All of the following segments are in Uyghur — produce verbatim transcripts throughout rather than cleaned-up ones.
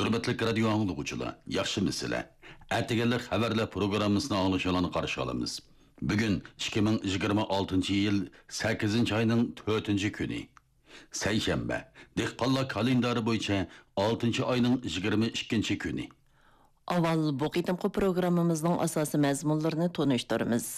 ھۆرمەتلىك رادىيو ئاڭلىغۇچىلار، ياخشىمۇسىلەر؟ ئەتىگەنلىك خەۋەرلەر پروگراممىسىنى ئاڭلىشىڭلارنى قارشى ئالىمىز. بۈگۈن ئىككى مىڭ يىگىرمە ئالتىنچى يىل سەككىزىنچى ئاينىڭ تۆتىنچى كۈنى، سەيشەنبە، دېھقانلار كالېندارى بويىچە ئالتىنچى ئاينىڭ يىگىرمە ئىككىنچى كۈنى. ئاۋۋال بۇ قېتىمقى پروگراممىمىزنىڭ ئاساسىي مەزمۇنلىرىنى تونۇشتۇرىمىز.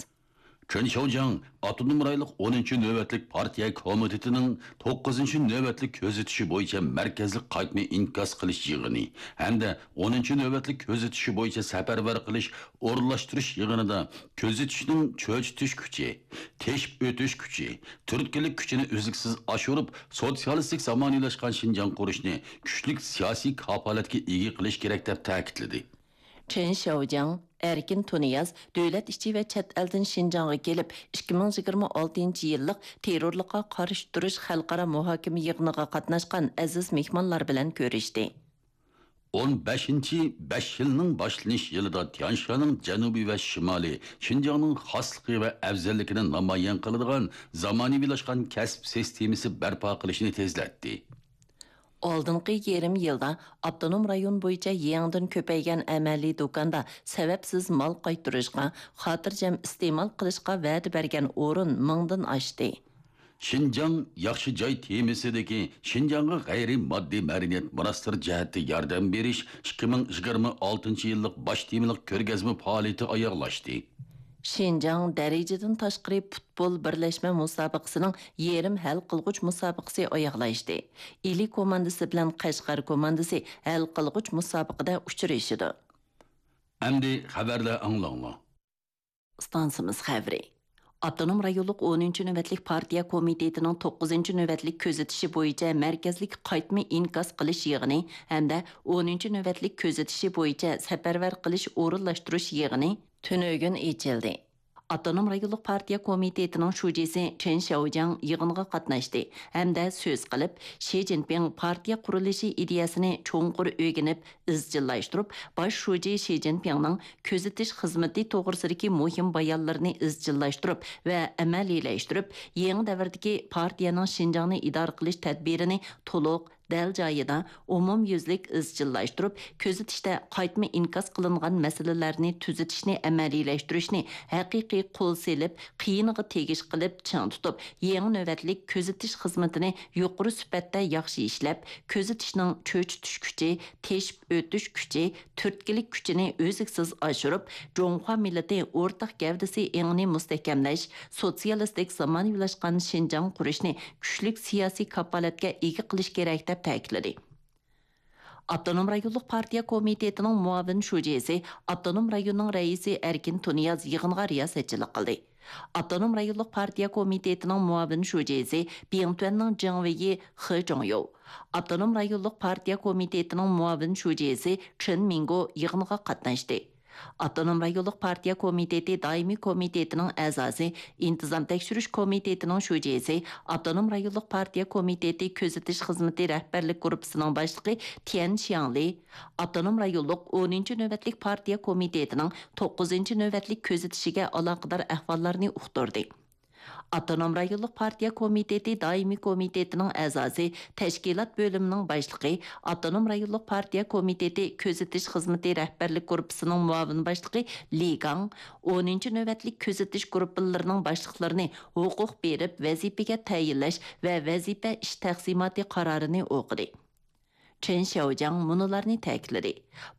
چېن شياۋجياڭ ئاپتونوم رايونلۇق ئونىنچى نۆۋەتلىك پارتىيە كومىتېتىنىڭ توققۇزىنچى نۆۋەتلىك كۆزىتىشى بويىچە مەركەزلىك قايتما ئىنكاس قىلىش يىغىنى ھەمدە ئونىنچى نۆۋەتلىك كۆزىتىشى بويىچە سەپەرۋەر قىلىش ئورۇنلاشتۇرۇش يىغىنىدا كۆزىتىشنىڭ چۆچۈتۈش كۈچى، تېشىپ ئۆتۈش كۈچى، تۈرتكىلىك كۈچىنى ئۈزلۈكسىز ئاشۇرۇپ، سوتسىيالىستىك زامانىۋىلاشقان شىنجاڭ قۇرۇشنى كۈچلۈك سىياسىي كاپالەتكە ئىگە قىلىش كېرەك، دەپ تەكىتلىدى. چېن شياۋجياڭ، ئەركىن تۇنىياز دۆلەت ئىچى ۋە چەت ئەلدىن شىنجاڭغا كېلىپ، ئىككى مىڭ يىگىرمە ئالتىنچى يىللىق تېررورلۇققا قارشى تۇرۇش خەلقئارا مۇھاكىمە يىغىنىغا قاتناشقان ئەزىز مېھمانلار بىلەن كۆرۈشتى. ئون بەشىنچى بەش يىلنىڭ باشلىنىش يىلىدا تيانشانىڭ جەنۇبى ۋە شىمالى، شىنجاڭنىڭ خاسلىقى ۋە ئەۋزەللىكىنى نامايان قىلىدىغان زامانىۋىلاشقان كەسىپ سىستېمىسى بەرپا قىلىشنى تېزلەتتى. ئالدىنقى يېرىم يىلدا ئاپتونوم رايون بويىچە يېڭىدىن كۆپەيگەن ئەمەلىي دۇكاندا سەۋەبسىز مال قايتۇرۇشقا، خاتىرجەم ئىستېمال قىلىشقا ۋەدە بەرگەن ئورۇن مىڭدىن ئاشتى. شىنجاڭ ياخشى جاي تېمىسىدىكى شىنجاڭغا غەيرىي ماددىي مەدەنىيەت مۇناسىرى جەھەتتە ياردەم بېرىش ئىككى مىڭ يىگىرمە ئالتىنچى يىللىق باش تېمىلىق كۆرگەزمە پائالىيىتى ئاياغلاشتى. شىنجاڭ دەرىجىدىن تاشقىرى پۇتبول بىرلەشمە مۇسابىقىسىنىڭ يېرىم ھەل قىلغۇچ مۇسابىقىسى ئاياغلاشتى. ئىلى كوماندىسى بىلەن قەشقەر كوماندىسى ھەل قىلغۇچ مۇسابىقىدە ئۇچرىشىدۇ. ئەمدى خەۋەرلەر ئاڭلاڭلار. ئىستانسىمىز خەۋىرى. ئاپتونوم رايونلۇق ئونىنچى نۆۋەتلىك پارتىيە كومىتېتىنىڭ توققۇزىنچى نۆۋەتلىك كۆزىتىشى بويىچە مەركەزلىك قايتما ئىنكاس قىلىش يىغىنى ھەمدە ئونىنچى نۆۋەتلىك كۆزىتىشى بويىچە سەپەرۋەر قىلىش ئورۇنلاشتۇرۇش يىغىنى تۈنۈگۈن ئېچىلدى. ئاپتونوم رايونلۇق پارتىيە كومىتېتىنىڭ شۇجىسى چېن شياۋجياڭ يىغىنغا قاتناشتى ھەمدە سۆز قىلىپ، شى جىنپىڭ پارتىيە قۇرۇلۇشى ئىدىيەسىنى چوڭقۇر ئۆگىنىپ، ئىزچىللاشتۇرۇپ، باش شۇجى شى جىنپىڭنىڭ كۆزىتىش خىزمىتى توغرىسىدىكى مۇھىم بايانلىرىنى ئىزچىللاشتۇرۇپ ۋە ئەمەلىيلەشتۈرۈپ، يېڭى دەۋردىكى پارتىيەنىڭ شىنجاڭنى ئىدارە قىلىش تەدبىرىنى تولۇق، دەل جايىدا، ئومۇميۈزلۈك ئىزچىللاشتۇرۇپ، كۆزىتىشتە قايتما ئىنكاس قىلىنغان مەسىلىلەرنى تۈزىتىشنى ئەمەلىيلەشتۈرۈشنى ھەقىقىي قول سېلىپ، قىيىنىغا تېگىش قىلىپ چىڭ تۇتۇپ، يېڭى نۆۋەتلىك كۆزىتىش خىزمىتىنى يۇقىرى سۈپەتتە ياخشى ئىشلەپ، كۆزىتىشنىڭ چۆچۈتۈش كۈچى، تېشىپ ئۆتۈش كۈچى، تۈرتكىلىك كۈچىنى ئۈزلۈكسىز ئاشۇرۇپ، جۇڭخۇا مىللىتى ئورتاق گەۋدىسى ئېڭىنى مۇستەھكەملەش، سوتسىيالىستىك زامانىۋىلاشقان شىنجاڭ قۇرۇشنى كۈچلۈك سىياسىي كاپالەتكە ئىگە قىلىش كېرەك، دەپ تەكىتلىدى. ئاپتونوم رايونلۇق پارتىيە كومىتېتىنىڭ مۇئاۋىن شۇجىسى، ئاپتونوم رايوننىڭ رەئىسى ئەركىن تۇنىياز يىغىنغا رىياسەتچىلىك قىلدى. ئاپتونوم رايونلۇق پارتىيە كومىتېتىنىڭ مۇئاۋىن شۇجىسى، بىڭتۈەننىڭ جېڭ ۋېيى خې جۇڭيو، ئاپتونوم رايونلۇق پارتىيە كومىتېتىنىڭ مۇئاۋىن شۇجىسى چېن مىڭگو يىغىنغا قاتناشتى. ئاپتونوم رايونلۇق پارتىيە كومىتېتى دائىمىي كومىتېتىنىڭ ئەزاسى، ئىنتىزام تەكشۈرۈش كومىتېتىنىڭ شۇجىسى، ئاپتونوم رايونلۇق پارتىيە كومىتېتى كۆزىتىش خىزمىتى رەھبەرلىك گۇرۇپپىسىنىڭ باشلىقى تيەن شياڭلى، ئاپتونوم رايونلۇق ئونىنچى نۆۋەتلىك پارتىيە كومىتېتىنىڭ توققۇزىنچى نۆۋەتلىك كۆزىتىشىگە ئالاقىدار ئەھۋاللارنى ئۇقتۇردى. ئاپتونوم رايونلۇق پارتىيە كومىتېتى دائىمىي كومىتېتىنىڭ ئەزاسى، تەشكىلات بۆلۈمىنىڭ باشلىقى، ئاپتونوم رايونلۇق پارتىيە كومىتېتى كۆزىتىش خىزمىتى رەھبەرلىك گۇرۇپپىسىنىڭ مۇئاۋىن باشلىقى لى گاڭ، ئونىنچى نۆۋەتلىك كۆزىتىش گۇرۇپپىلىرىنىڭ باشلىقلىرىنى ھوقۇق بېرىپ ۋەزىپىگە تەيىنلەش ۋە ۋەزىپە ئىش تەقسىماتى قارارىنى ئوقۇدى. چېن شياۋجياڭ مۇنۇلارنى تەكىتلىدى: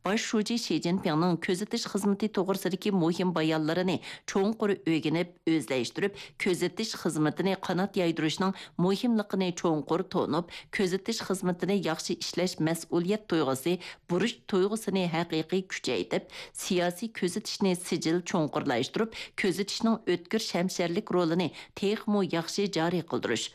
باش شۇجى شى جىنپىڭنىڭ كۆزىتىش خىزمىتى توغرىسىدىكى مۇھىم بايانلىرىنى چوڭقۇر ئۆگىنىپ، ئۆزلەشتۈرۈپ، كۆزىتىش خىزمىتىنى قانات يايدۇرۇشنىڭ مۇھىملىقىنى چوڭقۇر تونۇپ، كۆزىتىش خىزمىتىنى ياخشى ئىشلەش مەسئۇلىيەت تۇيغۇسى، بۇرچ تۇيغۇسىنى ھەقىقىي كۈچەيتىپ، سىياسىي كۆزىتىشنى سىجىل چوڭقۇرلاشتۇرۇپ، كۆزىتىشنىڭ ئۆتكۈر شەمشەرلىك رولىنى تېخىمۇ ياخشى جارى قىلدۇرۇش،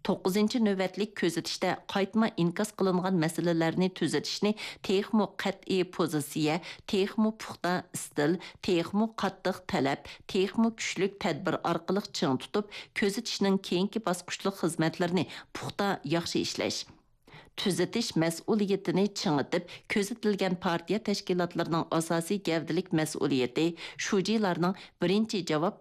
توققۇزىنچى نۆۋەتلىك كۆزىتىشتە قايتما ئىنكاس قىلىنغان مەسىلىلەرنى تۈزىتىشنى تېخىمۇ قەتئىي پوزىتسىيە، تېخىمۇ پۇختا ئىستىل، تېخىمۇ قاتتىق تەلەپ، تېخىمۇ كۈچلۈك تەدبىر ئارقىلىق چىڭ تۇتۇپ، كۆزىتىشنىڭ كېيىنكى باسقۇچلۇق خىزمەتلىرىنى پۇختا ياخشى ئىشلەش. تۈزىتىش مەسئۇلىيىتىنى چىڭىتىپ، كۆزىتىلگەن پارتىيە تەشكىلاتلىرىنىڭ ئاساسىي گەۋدىلىك مەسئۇلىيىتى، شۇجىلارنىڭ بىرىنچى جاۋاب